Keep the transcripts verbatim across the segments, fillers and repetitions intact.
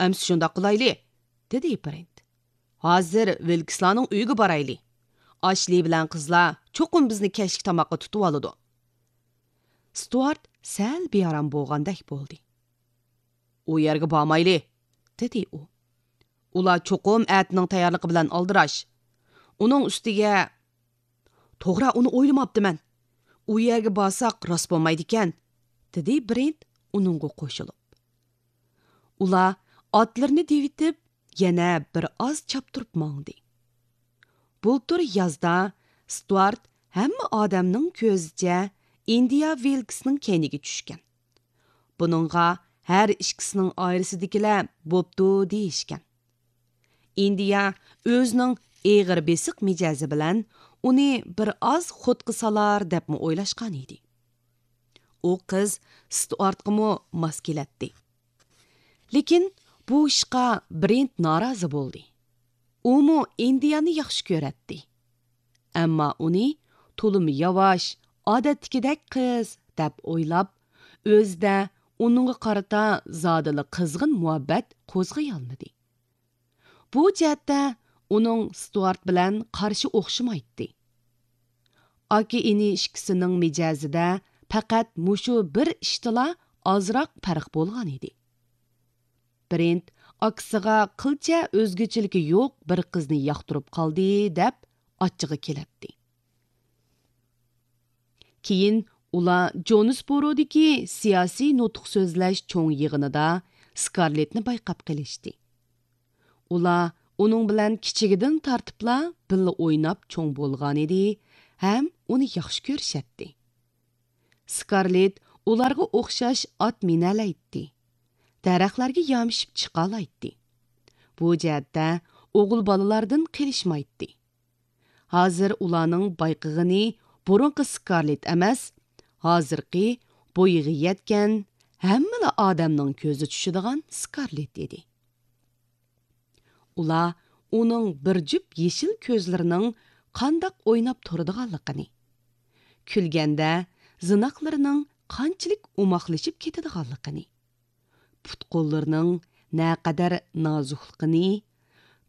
ئەمسە شۇنداق قىلايلى، دېدى برېنت. ھازىر ۋىلكسلارنىڭ ئۆيىگە بارايلى. ئاشلى بىلەن قىزلار چوقۇم بىزنى كەچلىك تاماققا تۇتۇۋالىدۇ. ستۇئارت سەل بىئارام بولغاندەك بولدى. ئۇ يەرگە بارمايلى، دېدى ئۇ. ئۇلار چوقۇم ئەتىنىڭ تەييارلىقى بىلەن ئالدىراش. ئۇنىڭ ئۈستىگە، توغرا، ئۇنى ئويلىماپتىمەن. ئۇ يەرگە بارساق راست بولمايدىكەن، دېدى برېنت ئۇنىڭغا قوشۇلۇپ. ئۇلار ئاتلىرىنى دېۋىتىپ، يەنە بىر ئاز چاپتۇرۇپ ماڭدى. بۇلتۇر يازدا ستۇئارت ھەممە ئادەمنىڭ كۆزىچە ئىندىيا ۋىلكسنىڭ كەينىگە چۈشكەن. بۇنىڭغا ھەر ئىككىسىنىڭ ئائىلىسىدىكىلەر بوپتۇ دېيىشكەن. ئىندىيا ئۆزىنىڭ ئېغىر بېسىق مىجەزى بىلەن ئۇنى بىر ئاز خوتقا سالار دەپمۇ ئويلاشقان ئىدى. ئۇ قىز ستۇئارتقىمۇ ماس كېلەتتى. لېكىن بۇ ئىشقا برېنت نارازى بولدى. ئۇمۇ ئىندىيانى ياخشى كۆرەتتى. ئەمما ئۇنى تولىمۇ ياۋاش، ئادەتتىكىدەك قىز دەپ ئويلاپ، ئۆزىدە ئۇنىڭغا قارىتا زادىلا قىزغىن مۇھەببەت قوزغىيالمىدى. بۇ جەھەتتە ئۇنىڭ ستۇئارت بىلەن قارىشى ئوخشىمايتتى. ئاكا-ئىنى ئىككىسىنىڭ مىجەزىدە پەقەت مۇشۇ بىر ئىشتىلا ئازراق پەرق بولغان ئىدى. برېنت ئاكىسىغا قىلچە ئۆزگىچىلىكى يوق بىر قىزنى ياقتۇرۇپ قالدى دەپ ئاچچىقى كېلەتتى. كېيىن ئۇلار جونسبورودىكى سىياسىي نۇتۇق سۆزلەش چوڭ يىغىنىدا سكارلېتنى بايقاپ قېلىشتى. ئۇلار ئۇنىڭ بىلەن كىچىكىدىن تارتىپلا بىللە ئويناپ چوڭ بولغانىدى ھەم ئۇنى ياخشى كۆرۈشەتتى. سكارلېت ئۇلارغا ئوخشاش ئات مىنەلەيتتى، دەرەخلەرگە يامىشىپ چىقالايتتى. بۇ جەھەتتە ئوغۇل بالىلاردىن قېلىشمايتتى. ھازىر ئۇلارنىڭ بايقىغىنى بۇرۇنقى سكارلېت ئەمەس، ھازىرقى بويىغا يەتكەن، ھەممىلا ئادەمنىڭ كۆزى چۈشىدىغان سكارلېت ئىدى. ئۇلار ئۇنىڭ بىر جۈپ يېشىل كۆزلىرىنىڭ قانداق ئويناپ تۇرىدىغانلىقىنى، كۈلگەندە زىناقلىرىنىڭ قانچىلىك ئوماقلىشىپ كېتىدىغانلىقىنى، پۇت-قوللىرىنىڭ نەقەدەر نازۇكلۇقىنى،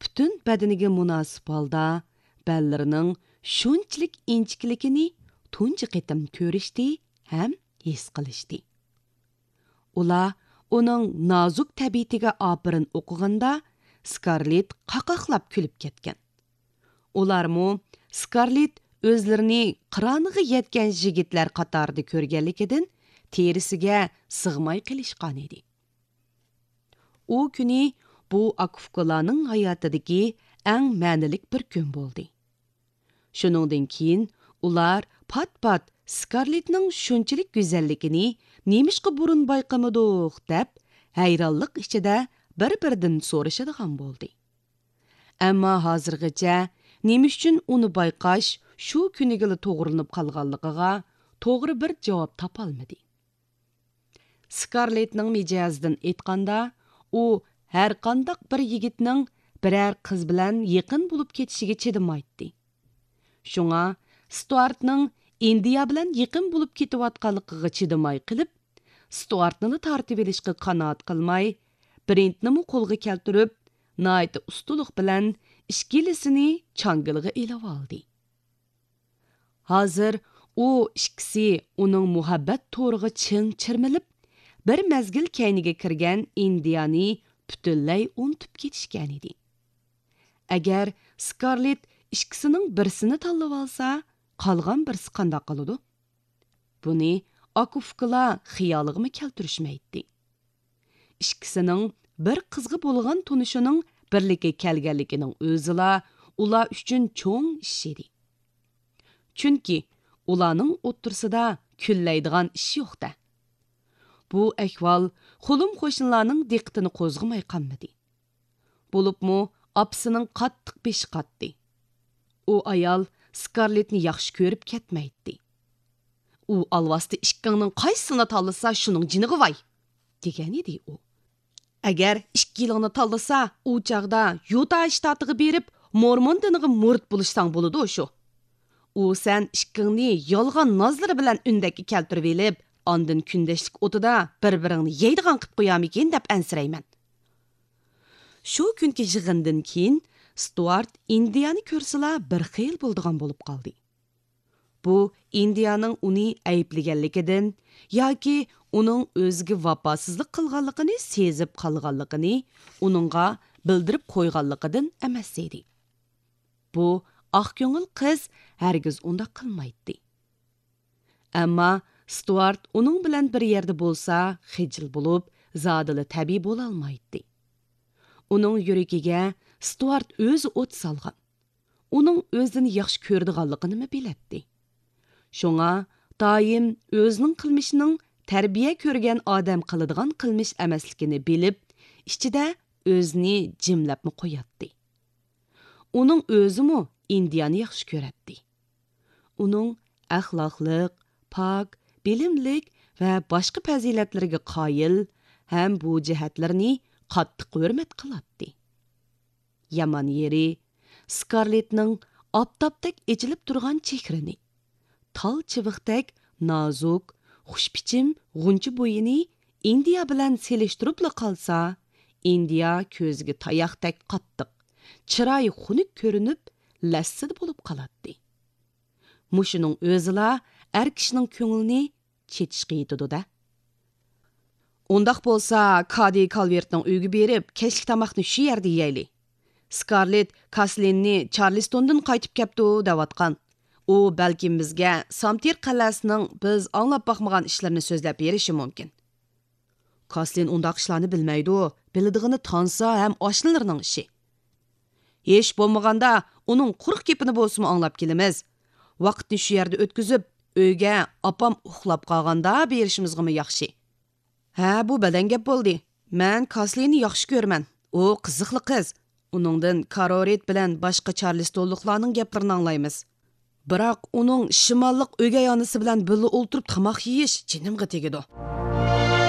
پۈتۈن بەدىنىگە مۇناسىپ ھالدا بەللىرىنىڭ شۇنچىلىك ئىنچىكىلىكىنى تۇنجى قېتىم كۆرۈشتى ھەم ھېس قىلىشتى. ئۇلار ئۇنىڭ نازۇك تەبىئىتىگە ئاپىرىن ئوقۇغاندا، سكارلېت قاقاقلاپ كۈلۈپ كەتكەن. ئۇلارمۇ سكارلېت ئۆزلىرىنى قىرانىغا يەتكەن يىگىتلەر قاتارىدا كۆرگەنلىكىدىن تېرىسىگە سىغماي قېلىشقانىدى. ئۇ كۈنى بۇ ئاكا-ئۇكىلارنىڭ ھاياتىدىكى ئەڭ مەنىلىك بىر كۈن بولدى. شۇنىڭدىن كېيىن ئۇلار پات-پات سكارلېتنىڭ شۇنچىلىك گۈزەللىكىنى نېمىشقا بۇرۇن بايقىمىدۇق دەپ، ھەيرانلىق ئىچىدە بىر-بىرىدىن سورىشىدىغان بولدى. ئەمما ھازىرغىچە نېمە ئۈچۈن ئۇنى بايقاش شۇ كۈنىگىلا توغرىلىنىپ قالغانلىقىغا توغرا بىر جاۋاب تاپالمىدى. سكارلېتنىڭ مىجەزىدىن ئېيتقاندا، ئۇ ھەرقانداق بىر يىگىتنىڭ بىرەر قىز بىلەن يېقىن بولۇپ كېتىشىگە چىدىمايتتى. شۇڭا ستۇئارتنىڭ ئىندىيا بىلەن يېقىن بولۇپ كېتىۋاتقانلىقىغا چىدىماي قېلىپ، ستۇئارتنىلا تارتىۋېلىشقا قانائەت قىلماي، برېنتنىمۇ قولغا كەلتۈرۈپ، ناھايىتى ئۇستىلىق بىلەن ئىككىلىسىنى چاڭگىلىغا ئېلىۋالدى. ھازىر ئۇ ئىككىسى ئۇنىڭ مۇھەببەت تورىغا چىڭ چىرمىلىپ، بىر مەزگىل كەينىگە كىرگەن ئىندىيانى پۈتۈنلەي ئۇنتۇپ كېتىشكەنىدى. ئەگەر سكارلېت ئىككىسىنىڭ بىرسىنى تاللىۋالسا، قالغان بىرسى قانداق قىلىدۇ؟ بۇنى ئاكا-ئۇكىلار خىيالىغىمۇ كەلتۈرۈشمەيتتى. ئىككىسىنىڭ بىر قىزغا بولغان تونۇشىنىڭ بىرلىككە كەلگەنلىكىنىڭ ئۆزىلا ئۇلار ئۈچۈن چوڭ ئىش ئىدى. چۈنكى ئۇلارنىڭ ئوتتۇرىسىدا كۈنلەيدىغان ئىش يوق-دە. بۇ ئەھۋال خۇلۇم قوشنىلارنىڭ دىققىتىنى قوزغىماي قالمىدى. بولۇپمۇ ئاپىسىنىڭ قاتتىق بېشى قاتتى. ئۇ ئايال سكارلېتنى ياخشى كۆرۈپ كەتمەيتتى. ئۇ ئالۋاستى ئىككىڭنىڭ قايسىسىنى تاللىسا، شۇنىڭ جېنىغا ۋاي! دېگەنىدى ئۇ. ئەگەر ئىككىلىڭنى تاللىسا، ئۇ چاغدا يۇتا شتاتىغا بېرىپ، مورمون دىنىغا مۇرىت بولۇشساڭ بولىدۇ شۇ. ئۇ سەن ئىككىڭنى يالغان نازلىرى بىلەن ئۈندەككە كەلتۈرۈۋېلىپ، ئاندىن كۈندەشلىك ئوتىدا بىر-بىرىڭنى يەيدىغان قىپ قويارمىكىن دەپ ئەنسىرەيمەن. شۇ كۈنكى يىغىندىن كېيىن ستۇئارت ئىندىيانى كۆرسىلا بىر خىل بولىدىغان بولۇپ قالدى. بۇ ئىندىيانىڭ ئۇنى ئەيىبلىگەنلىكىدىن ياكى ئۇنىڭ ئۆزىگە ۋاپاسىزلىق قىلغانلىقىنى سېزىپ قالغانلىقىنى ئۇنىڭغا بىلدۈرۈپ قويغانلىقىدىن ئەمەس ئىدى. بۇ ئاق كۆڭۈل قىز ھەرگىز ئۇنداق قىلمايتتى. ئەمما ستۇئارت ئۇنىڭ بىلەن بىر يەردە بولسا خىجىل بولۇپ، زادىلا تەبىئىي بولالمايتتى. ئۇنىڭ يۈرىكىگە ستۇئارت ئۆزى ئوت سالغان، ئۇنىڭ ئۆزىنى ياخشى كۆرىدىغانلىقىنىمۇ بىلەتتى. شۇڭا دائىم ئۆزىنىڭ قىلمىشىنىڭ تەربىيە كۆرگەن ئادەم قىلىدىغان قىلمىش ئەمەسلىكىنى بىلىپ، ئىچىدە ئۆزىنى جىملەپمۇ قوياتتى. ئۇنىڭ ئۆزىمۇ ئىندىيانى ياخشى كۆرەتتى. ئۇنىڭ ئەخلاقلىق، پاك، بىلىملىك ۋە باشقا پەزىلەتلىرىگە قايىل ھەم بۇ جەھەتلىرىنى قاتتىق ھۆرمەت قىلاتتى. يامان يېرى، سكارلېتنىڭ ئاپتاپتەك ئېچىلىپ تۇرغان چېھرىنى، تال چىۋىقتەك نازۇك، خۇشپىچىم غۇنچە بويىنى ئىندىيا بىلەن سېلىشتۇرۇپلا قالسا، ئىندىيا كۆزىگە تاياقتەك قاتتىق، چىرايى خۇنۈك كۆرۈنۈپ، لەسسىدە بولۇپ قالاتتى. مۇشۇنىڭ ئۆزىلا ئەر كىشىنىڭ كۆڭلىنى چېتىشقا يېتىدۇ-دە. ئۇنداق بولسا، كادى كالۋېرتنىڭ ئۆيىگە بېرىپ، كەچلىك تاماقنى شۇ يەردە يەيلى. سكارلېت كاسلىننى چارلىستوندىن قايتىپ كەپتۇ دەۋاتقان. ئۇ بەلكىم بىزگە سامتىر قەلئەسىنىڭ بىز ئاڭلاپ باقمىغان ئىشلىرىنى سۆزلەپ بېرىشى مۇمكىن. كاسلىن ئۇنداق ئىشلارنى بىلمەيدۇ، بىلىدىغىنى تانسا ھەم ئاشنىلىرىنىڭ ئىشى. ھېچ بولمىغاندا ئۇنىڭ قۇرۇق گېپىنى بولسىمۇ ئاڭلاپ كېلىمىز. ۋاقىتنى شۇ يەردە ئۆتكۈزۈپ، ئۆيگە ئاپام ئۇخلاپ قالغاندا بېرىشىمىزغىمۇ ياخشى. ھە، بۇ بەدەن گەپ بولدى. مەن كاسلىننى ياخشى كۆرىمەن. ئۇ قىزىقلىق قىز. ئۇنىڭدىن كارورىت بىلەن باشقا چارلىستونلۇقلارنىڭ گەپلىرىنى ئاڭلايمىز. بىراق ئۇنىڭ شىماللىق ئۆگەي ئانىسى بىلەن بىللە ئولتۇرۇپ تاماق يېيىش جېنىمغا تېگىدۇ.